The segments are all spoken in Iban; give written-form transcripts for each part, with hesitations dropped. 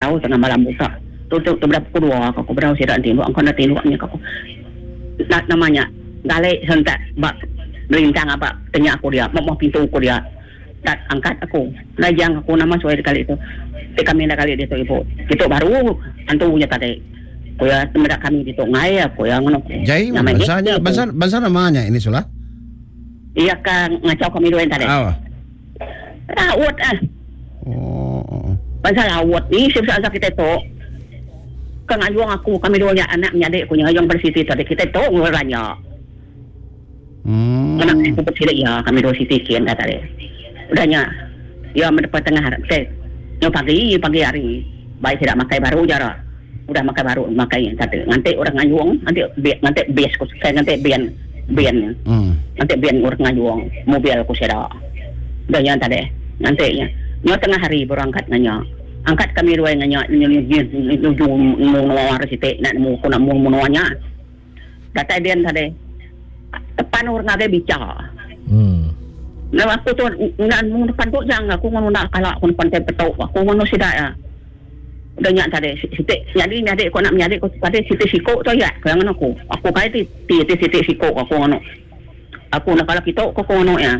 tau tengah malam buta. Tu tu tu beda pukul dua ka aku bedau sida tinduk engka enda tinduk nya ka aku. Na nama nya gali sentak ba belintang aba tenya aku dia ba muh pintu ku dia. Tak angkat aku. Lajang aku nama suai kali tu. Ti kami enda kali ditu ibu. Ditu baru antu nya tadi. Ku iya meda kami ditu ngai ku iya ngono. Jai Nama bansa nya bansa bansa nama nya ini sulah. Iya ka ngachau kami dua tadi. Oh. Laut ah. Oh. Bansa laut ni sibsa kita tu. Ka ngayung aku kami dua nya anak menyadi ku nya ngayung pada siti tadi kita tu nguranya. Hmm. Anak aku pun iya kami dua siti kin dah tadi. Udah nya iya mendepa tengah hari. Nyo pagi pagi hari baik sida makai baru jara. Udah makai baru makai tadi. Nganti orang ngayung, nganti nganti bis ku nganti bin bin. Hmm. Nganti bin orang ngayung mobil ku sida. Udah nya tadi nganti nya. Nyo tengah hari baru angkat nganya. Angkat kami dua nganya nuju menua siti nak nemu ku nak nemu menua nya. Datai din tadi. Tepan orang ngagai bicha. Hmm. Nah, aku tu nak nemu depan tu jang aku ngono nak kala aku depan tai petuk aku ngono sida ya. Udah nya tadi siti nyadi nyadi ko nak menyadi ko tadi siti siko tu ya ko ngono aku. Aku kai ti ti ti siti siko aku ngono. Aku nak kala kitu ko ngono ya.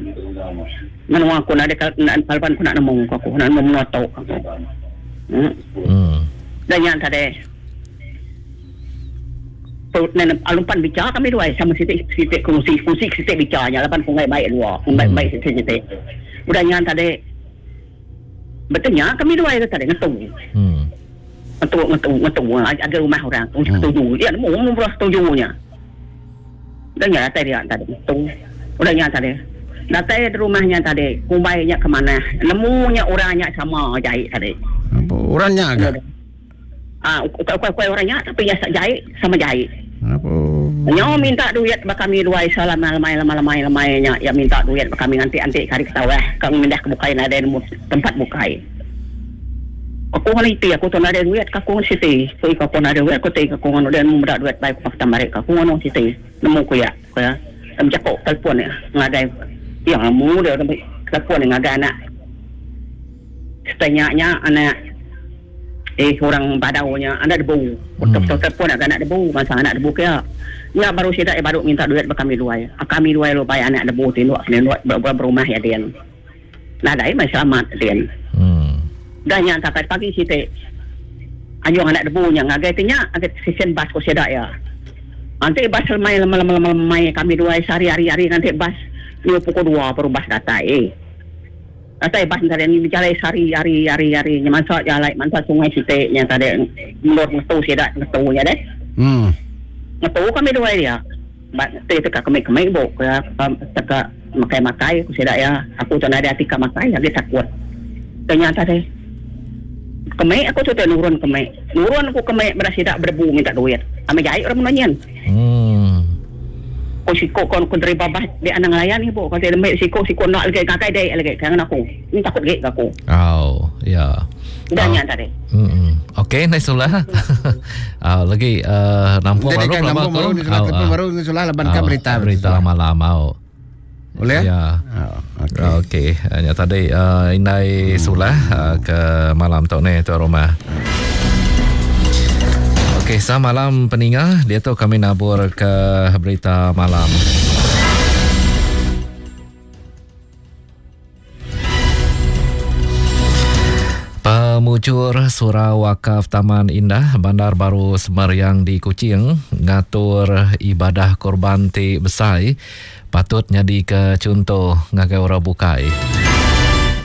Menua aku nak ada nak kalban aku nak nemu ko aku nak nemu menua tu aku. Hmm. Hmm. Udah nya tadi. Alumpan bicha kami duai sama siti siti kongsi kongsi siti bicha nya laban kunggai baik dua baik baik siti siti udah nya tadi betenya kami duai tu tadi ngetu hmm. ngetu ngetu ngetu ada rumah orang kongsi hmm. setuju ya nemu nemu setuju nya udah nya datai dia tadi ngetu udah nya tadi datai di rumahnya tadi kumbai nya ke mana nemu nya orang nya sama jai tadi apa orang nya agak Ah, ukai ukai ukai orang nya tapi iya jai sama jai. Apa? Nyo minta duit ba kami duai selama lemai lemai lemai lemai nya iya minta duit ba kami nganti anti ke hari ketawah ka mindah ke bukai nadai nemu tempat bukai. Aku ngan iti aku tu nadai duit ka aku ngan siti. Ku iya aku nadai duit ku ti aku ngan udah nemu meda duit bai ku pakta mari ka aku ngan siti nemu ku iya ku iya. Em jaku telefon iya ngagai iya nemu dia telefon iya ngagai anak. Setanya nya anak eh orang Badau nya anak debu. Betul-betul telefon agak anak debu masa anak debu kia. Nya baru sida eh baru minta duit ba kami duai. Kami duai lalu bai anak debu ti induk kena induk berumah iya din. Nadai meh selamat din. Hmm. Dah nya sampai pagi siti anjung anak debu nya ngagai ti nya ngagai stesen bas ko sida iya. Anti bas lemai lemai lemai lemai kami duai sehari hari hari nganti bas nyu pukul dua baru bas datai. Datai bas nya tadi bejalai sehari hari hari hari nya mansa jalai mansa sungai siti nya tadi endur ngetu sida ngetu nya deh. Hmm. Ngetu kami duai dia. Ba ti teka kemi kemi bu ku iya teka makai makai ku sida iya. Aku tu nadai ati ka makai agi takut. Ke nya tadi. Kemi aku tu nurun kemi. Nurun aku kemi bala sida bedebu minta duit. Amai jai orang menua nyin. Hmm. Ko siko ko ko deriba bas dek anang ngelayan ibu ko dek siko siko enda lagi ngagai dek lagi kan aku. Ni takut gek aku. Oh, ya. Dah nya tadi. Hmm. Okey, nice sulah. Ah, lagi nampung baru kan, nampung baru ni sulah telefon baru ni sulah laban kan berita berita malam mau. Boleh? Ya. Oh, okey. Okey, nya tadi indai sulah ke malam tu ni tu rumah. Okey, selamat malam peninga. Diatu kami nabur ke berita malam. Pemujur Surau Wakaf Taman Indah Bandar Baru Semariang di Kuching ngatur ibadah korban ti besai patut nyadika chunto ngagai orang bukai.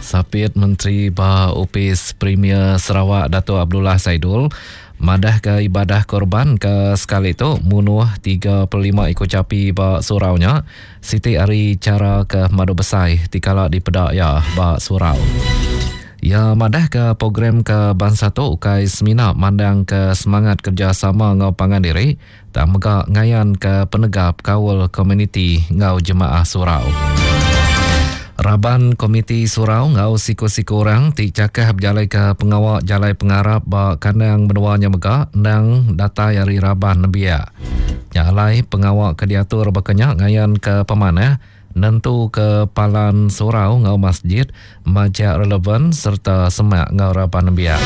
Sapit Menteri ba Opis Premier Sarawak Datuk Abdullah Saidul madahka ibadah korban ke sekali tu munuh 35 iku chapi ba surau nya siti ari chara ke pemadu besai ti kala dipeda iya ba surau. Iya madahka program ke bansa tu ukai semina mandangka semangat kerejasama enggau pangan diri tang mega ngayanka penegap kaul komuniti enggau jemaah surau. Raban Komiti Surau enggau siku-siku orang ti chakah bejalaika pengawa jalai pengarap ba kandang menua nya mega endang datai ari raban nembiak. Nya alai pengawa ke diatur baka nya ngayanka pemanah nentuka palan surau enggau masjid majak relevan sereta semak enggau raban nembiak.